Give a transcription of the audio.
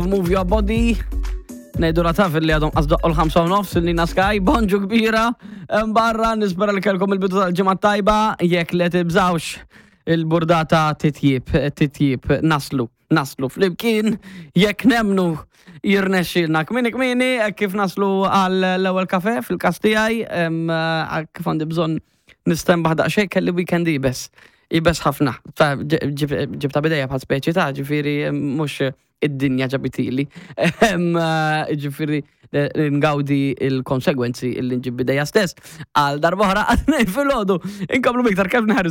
Move Your Body. Nejdu la taf li għadhom qasdoqqu l-5 u nofs il-Nina Sky, bonġu kbira, barra nispera li kellkom il-bidu tal-ġimgħa tajba, jekk le tibżawx il-burdata titjib, titjib, naslu, naslu flimkien, jekk nemnu jirnexxilna kmini kmini, kif naslu għal l-ewwel kafe fil-każ tiegħi, kif għandi bżonn nistenbaħ daqsxejn kelli weekend ibes. Ibes ħafna. Ġibta bidejja bħal speċi ta' ġifieri mhux id-dinja ġabitili. Ġifieri eh, ngawdi il-konsegwenzi illi nġib bidejja stess. Għal darbohra għadnej fil-ħodu. Inkomplu biktar Kevin Harris.